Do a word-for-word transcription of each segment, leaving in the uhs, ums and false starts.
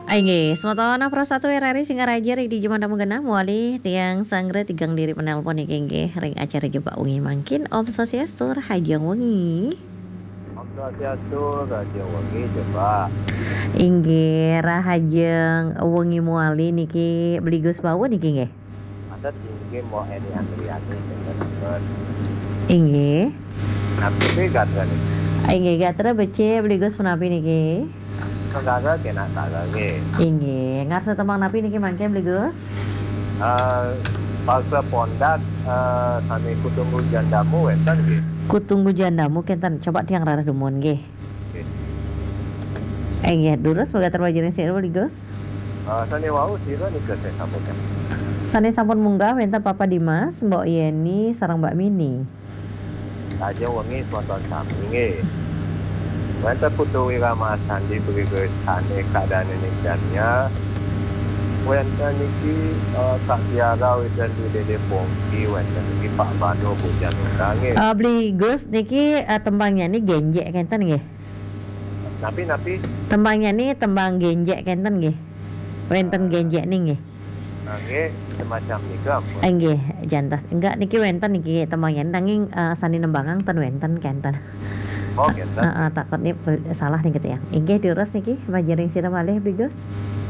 Inggih, semeton Pro satu R R I Singaraja ring dija mangkin genah, malih tiang sanggra tigang diri penelpon niki inggih ring acara Jebak Wengi mangkin. Om Swastiastu, rahajeng wengi. Om Swastiastu, rahajeng wengi, Jebak. Inggih, rahajeng wengi malih niki Bli Gus Bawa niki inggih. Adat inggih Mbok Eni Andriani, sinten? Inggih. Napi gatra niki? Inggih, gatra becik, Bli Gus punapi niki? Saudara kena saudara nggih. Inggih, ngarsa tembang napi niki mangkin, Bli Gus? Eh, bangsa Pondat, eh, sami Kutunggu Jandamu wenten nggih. Kutunggu Jandamu kenten, coba tiang rarah dumun nggih. Nggih. Inggih, durus mangga terwajib ring sira, Bli Gus. Eh, sane wau sira nika sane sampun. Sane sampun munggah wenten Papa Dimas, Mbok Yeni, sareng Mbak Mini. Rahajeng wengi semeton sami nggih. Wenten Putu Wirama Sandi Bli Gus sane kadane ning Dania. Wenten niki, eh, Kak Tiara, wenten di Dede Pongki, wenten niki Pak Bano, Bu Janura nggih. Eh, Bli Gus niki, eh, tembangnya ni genjek kenten nggih. Napi, napi? Tembangnya ni tembang genjek kenten nggih. Wenten genjek ni nggih. Nggih, semacam nika ampun. Inggih, jantos. Enggak niki wenten niki tembangnya, nanging, eh, sane nembangang ten wenten kenten. Oh, kenten. Heeh, takut ni pel-, salah niki tiang. Inggih, durus niki, majeng ring sira malih, Bli Gus.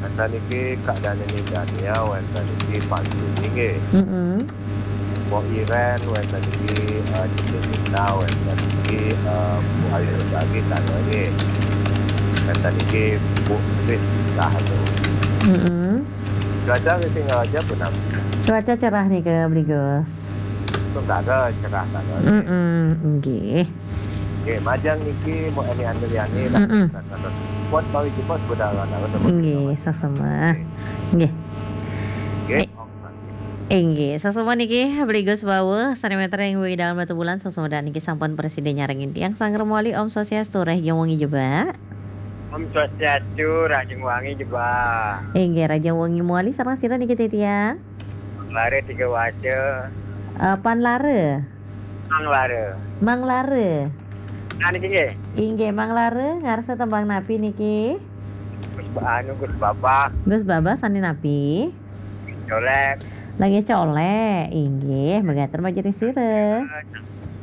Wenten niki Kak Dani Dania, wenten niki Pak Sudi nggih. Mm-mm. Mbok Iren, wenten niki, eh, Cici Nita, wenten niki, eh, Bu Ayu Bagi, tangga nggih. Wenten niki Bu Tris, saha tu. Mm-mm. Cuaca nggih Singaraja punapi? Cuaca cerah nika, Bli Gus. Sementara cerah tangga nggih. Mm-mm, nggih. Nggih, majeng niki Mbok Eni Andriani, mm-mm, buat bari jebos budal. Nggih, sasama. Nggih. Nggih. Eh, Inggih, sasama niki Bli Gus Bawa, sane matur ring wewidangan Batubulan, sasama niki sampun prasida nyarengin tiang sanggra malih. Om Swastiastu, rahajeng wengi Jebak. Om Swastiastu, rahajeng wengi Jebak. Inggih, rahajeng wengi malih sareng sira niki titiang. Lara tiga waca. Eh, Pan Lara. Mang Lara. Mang Lara. Nah, niki nggih. Inggih, Mang Lara, ngarsa tembang napi niki? Gus Ba-, anu, Gus Babah. Gus Babah sane napi? Colek. Lagi colek, inggih, mangga majeng ring sira.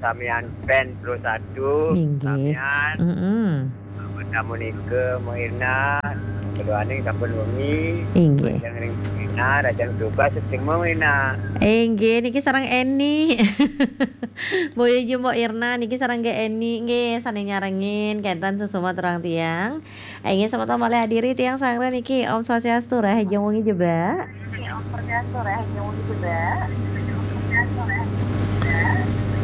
Samian pen Pro satu, inggih. Samian. Mm-mm. Tamu nika, Mbok Irna, keduaning sampun wengi. Inggih. Rahajeng ring Irna, rahajeng tugas, sing Mbok Irna. Inggih, niki sareng Eni. Boya Jumbo Irna, niki sareng Ge Eni, nggih, sane nyarengin, kenten sasama aturang tiang. Inggih, semeton malih adiri tiang sanggra niki. Om Swastiastu, rahajeng wengi Jebak. Om Swastiastu, rahajeng wengi Jebak.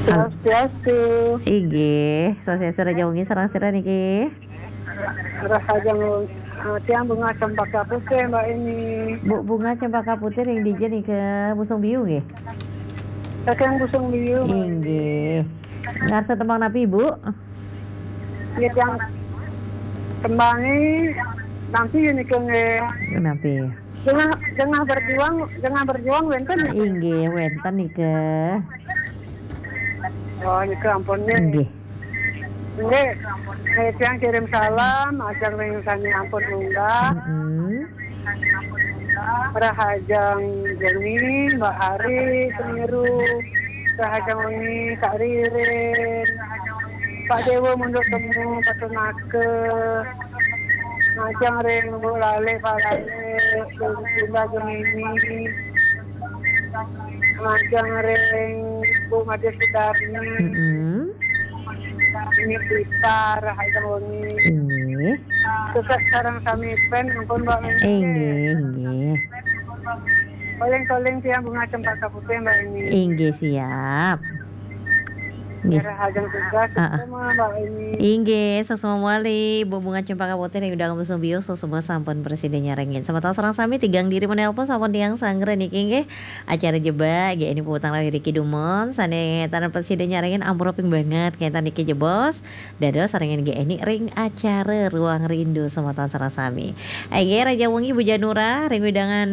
Halo. Swastiastu. Inggih, Swastiastu, rahajeng wengi sareng sira niki. Rahajeng wengi, eh, tiang Bunga Cempaka Putih, Mbak Eni. Bu Bunga Cempaka Putih ring dija nika, Busung Biu nggih? Saking Busung Biu, Mbak Eni. Inggih. Ngarsa tembang napi, Bu? Nggih, tiang tembange napi nika nggih? Napi? Jengah, jengah berjuang, jengah berjuang wenten nika? Inggih, wenten nika. Oh, nika ampun nggih. Inggih. Nggih. Eh, tiang kirim salam, ajeng ring sane ampun munggah. Mm-mm. Rahajeng wengi, Mbak Ari, Semiru. Rahajeng wengi, Kak Ririn. Pak Dewa Munduk Temu, Patunaka. Majeng ring Bu Lale, Pak Lale, Bu Linda Gemini. Majeng ring Bu Made Sudarni. Mm-mm. Ini kita, rahajeng wengi. Inggih. Sukses sareng sami pen, ampun, Mbak Eni. Inggih, inggih. Calling-calling tiang Bunga Cempaka Putih, Mbak Eni. Inggih, siap. Nggih. Rahajeng tugas, ah, ah, sasama, Mbak Eni. Inggih, sasama malih, Bu Bunga Cempaka Putih ring wewidangan Busung Biu, sasama sampun prasida nyarengin. Semeton sareng sami tigang diri menelpon sampun tiang sanggra niki nggih. Acara Jebak, nggih, Eni puputang raos iriki dumun, sane tan prasida nyarengin ampura ping banget, kenten niki jebos. Dados sarengin nggih Eni ring acara Ruang Rindu semeton sareng sami. Inggih, rahajeng wengi Bu Janura, ring wewidangan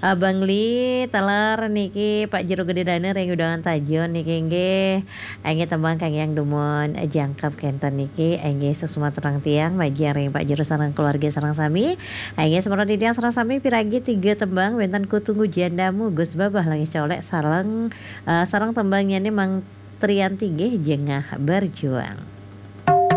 Abang Li, taler niki Pak Jero Gede Daner ring wewidangan Tajon niki nggih. Inggih tembang kangge dumun jangkep kenten niki, inggih suksma terang tiang majeng ring Pak Jero sareng keluarga sareng sami. Inggih semara titiang sareng sami piragi tiga tembang wenten Ku Tunggu Jandamu Gus Babah Langis Colek sareng, eh, sareng tembangnyane Mang Trianti nggih Jengah Berjuang.